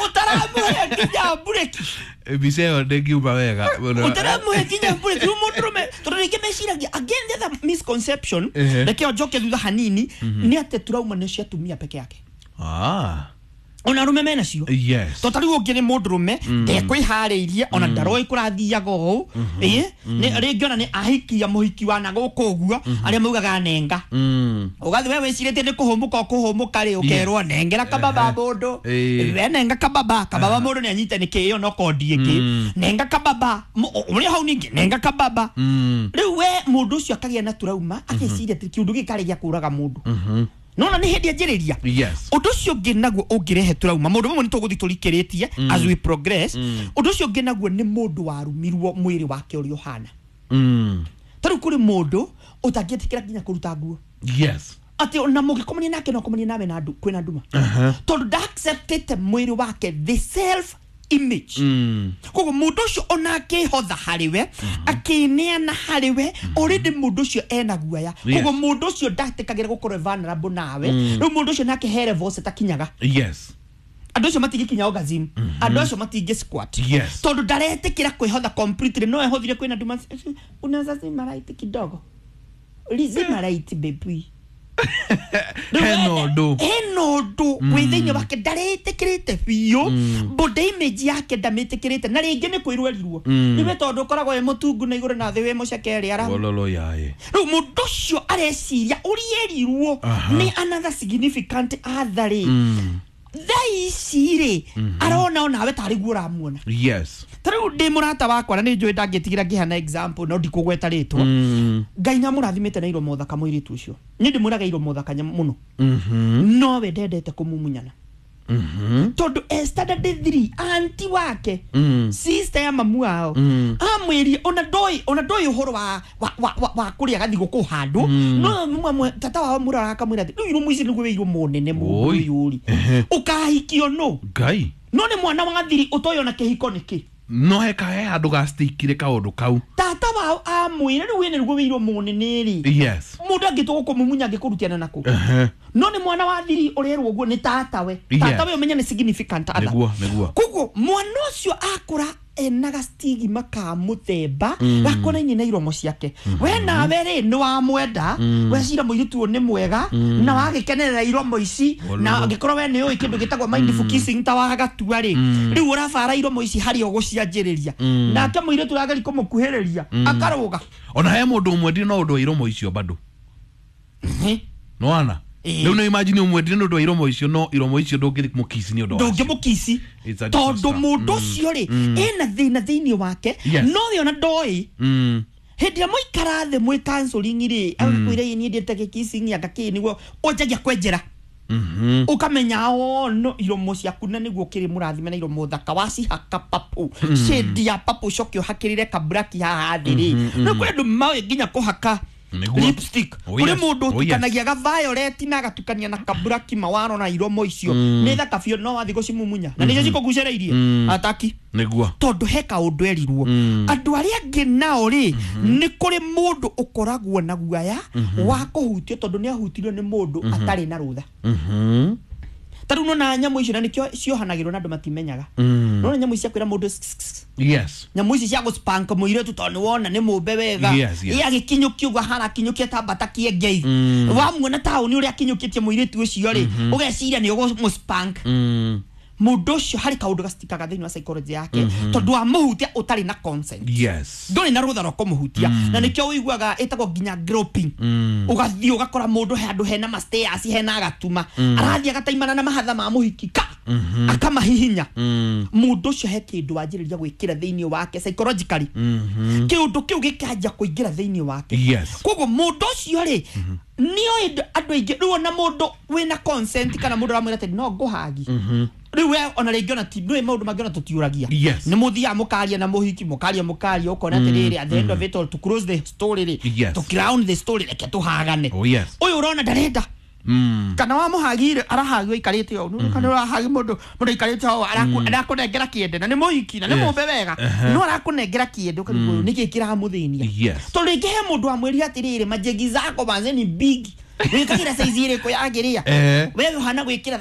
Utaramuhe nginya mbureki. Mbica ĩyo ndĩngiuma wega mũno. Utaramuhe nginya mbureki. Rĩu mũndũrũme tondũ rĩngĩ meciragia, again, the other misconception, reke njoke thutha hanini, nĩ atĩ trauma nĩ cia atumia peke yake. Ona arũme mena cio. To tarĩu ũngĩ nĩ mũndũrũme ndekwĩharĩirie, ona ndaroĩ kũrathiaga ũũ. Ĩ nĩ rĩngĩ ona nĩ ahikia mũhiki wa na gũkũ ũguo arĩa maugaga nenga. Ũgathiĩ we wĩcirĩtie nĩ kũhũmũka ũkũhũmũka rĩ, ũkerwo nengera kababa mũndũ. We nenga kababa kababa mũndũ nĩ anyite nĩ kĩĩ ĩyo no kondi ĩngĩ, nenga kababa ũrĩa hau ningĩ nenga kababa. Rĩu we mũndũ ũcio akagĩa na trauma, akeciria atĩ kĩũndũ gĩkĩ karĩ gĩa kũraga mũndũ. Nona nĩ hĩndĩ anjĩrĩria. Ũndũ ũcio ũngĩ naguo ũngĩrehe trauma, maũndũ mamwe nĩ tũgũthiĩ tũrikĩrĩtie as we progress. Ũndũ ũcio ũngĩ naguo nĩ mũndũ warumirwo mwĩrĩ wake ũrĩa ũhana. Ta rĩu kũrĩ mũndũ ũtangĩtĩkĩra nginya kũruta nguo. Atĩ ona mũngĩkomania nake no akomanie nawe na kwĩna nduma, tondũ ndaacceptĩte mwĩrĩ wake, the self image. Koguo mũndũ ũcio ona akĩhotha harĩ we, akĩneana harĩ we, already mũndũ ũcio ena guoya. Koguo mũndũ ũcio ndatĩkagĩra gũkorwo vulnerable nawe. Rĩu mũndũ ũcio nake he levels ĩtakinyaga. Andũ acio matingĩkinya orgasm, andũ acio matingĩ squat, tondũ ndaretĩkĩra kwĩhotha completely. No ehothire kwĩna nduma, unaweza zima light kidogo, zima light, baby. Hena ũndũ. Hena ũndũ wĩ thĩinĩ wake ndaretĩkĩrĩte biũ, body image yake ndamĩtĩkĩrĩte, na rĩngĩ nĩ kwĩrwo erirwo nĩwe tondũ ũkoragwo wĩ mũtungu na igũrũ na thĩ wĩ mũceke ara. Wololo yae. Rĩu mũndũ ũcio areciria ũrĩa erirwo nĩ another significant other rĩ, thaa ici rĩ arona onawe tarĩ guo ũramuona. Ta rĩu ndĩ mũrata wakwa na nĩ njũĩ ndangĩtigĩra ngĩheana example, no ndikũgweta rĩtwa. Ngai nĩamũrathimĩte na iromo thaka mũirĩtu ũcio. Niĩ ndĩmwĩraga iromo thaka mũno, no we ndendete kũmumunyana, tondũ e standard 3 anti wake, sister ya mamu wao, amwĩrie ona ndoĩ ũhoro wa kũrĩa gathigũkũ handũ, no tata wao mũrora akamwĩra atĩ rĩu iromo ici nĩguo wĩ iromo nene mũndũ ũyũ rĩ ũkahikio no Ngai. No nĩ mwana wa thiri ũtoĩ ona kĩhiko nĩkĩ. No heka he handũ gastikire kaũndũ kau. Tata wao amwĩra rĩu wĩna nĩguo wĩ iromo nene rĩ, mũndũ angĩtua gũkũmumunya angĩkũrutiana nakũ. No nĩ mwana wa thiri ũrerwo ũguo nĩ tatawe. Tatawe ũmenye nĩ significant other. Nĩguo nĩguo. Koguo mwana ũcio akũra ena gastigima ka mũthemba gakonainie na iromo ciake. We nawe rĩ nĩ wamwenda, wecira mũirĩtu ũyũ nĩ mwega na wagĩkenerera iromo ici, na angĩkorwo we nĩ ũĩ kĩndũ gĩtagwo mindful kissing ta wagatua rĩ, rĩu ũrabara iromo ici harĩa ũgũcianjĩrĩria, nake mũirĩtu ũrageria kũmũkuhĩrĩria akarũga. Ona he mũndũ ũmwendire no ũndũ wa iromo icio bado. Nĩwona? Rĩu nĩ imagine ũmwendire nĩ ũndũ wa iromo icio, no iromo icio ndũngĩthi mũkici nĩ ũndũ wacio. Ndũngĩmũkici. It's a Tondũ disaster. mũndũ ũcio rĩ ena thĩna thĩinĩ wake, no we ona ndoĩ. Hĩndĩ ĩrĩa mũikara thĩ mwĩ counseling rĩ, agakwĩra ĩ niĩ ndĩte gĩkissing anga kĩ, nĩguo ũnjagia kwenjera, ũkamenya o no iromo ciaku na nĩguo ũkĩrĩ mũrathime na iromo thaka, wacihaka papu shade ya papu, ũcoke ũhakĩrĩre kaburaki haha thĩ rĩ, nĩ kũrĩ andũ maũĩ nginya kũhaka lipstick. Kũrĩ mũndũ ũtukanagia ga violet na agatukania na kaburaki mawaro, na iromo icio nĩ thaka biũ, no wathiĩ gũcimumunya na nĩcio cikũgucĩrĩirie ataki, tondũ he kaũndũ erirwo. Andũ arĩa angĩ nao rĩ, nĩ kũrĩ mũndũ ũkoragwo na guaya wa kũhutio, tondũ nĩ ahutirio nĩ mũndũ atarĩ na rũtha. Ta rĩu nona nyamũ icio na nĩkĩo ciohanagĩrwo na andũ matimenyaga. Nona nyamũ ici cia kwĩra mũndũ nyamũ ici cia gũspank mũirĩtu tondũ nĩ wona nĩ mũmbe wega. Ĩ agĩkinyũkia ũguo ahana akinyũkia ta mbata kĩengei. Wamuona taũni ũrĩa akinyũkĩtie mũirĩtu ũcio rĩ, ũgeciria nĩ ũgũmũspank. Mũndũ ũcio harĩ kaũndũ gacitikaga thĩinĩ wa psychology yake, tondũ wamũhutia ũtarĩ na consent. Ndũrĩ na rũtha rwa kũmũhutia, na nĩkĩo ũiguaga ĩtagwo nginya groping. Ũgathiĩ ũgakora mũndũ handũ hena ma stairs, hena gatuma, arathiĩ agataimana na mahatha ma mũhiki ka akamahihinya. Mũndũ ũcio he kĩndũ wanjĩrĩria gwĩkĩra thĩinĩ wake psychologically, kĩũndũ kĩu gĩkanjia kũingĩra thĩinĩ wake. Koguo mũndũ ũcio rĩ nĩoĩ andũ aingĩ rĩu ona mũndũ wĩna consent kana mũndũ ũramwĩra atĩ no ngũhagi rĩu we ona rĩngĩ ona ti ndũĩ maũndũ mangĩ ona tũtiũragia. Nĩ mũthiaga mũkaria na mũhiki, mũkaria mũkaria, ũkona atĩrĩrĩ, at the end of it all, to close the story rĩ, to crown the story, reke tũhagane. Ũyũ ũrona ndarenda kana wamũhagire arahagio aikarĩte ũũ. Kana ũrahagi mũndũ, mũndũ aikarĩte ũũ arakũnengera kĩende na nĩ mũhiki na nĩ mũmbe wega, no arakũnengera kĩende, ũkarigwo ũyũ nĩkĩ kĩramũthĩnia. Tondũ rĩngĩ he mũndũ wamwĩrire atĩrĩrĩ, majegi zako manze ni big, wĩkagĩra size ĩrĩkũ yagĩrĩa? We ũhana gwĩkĩra.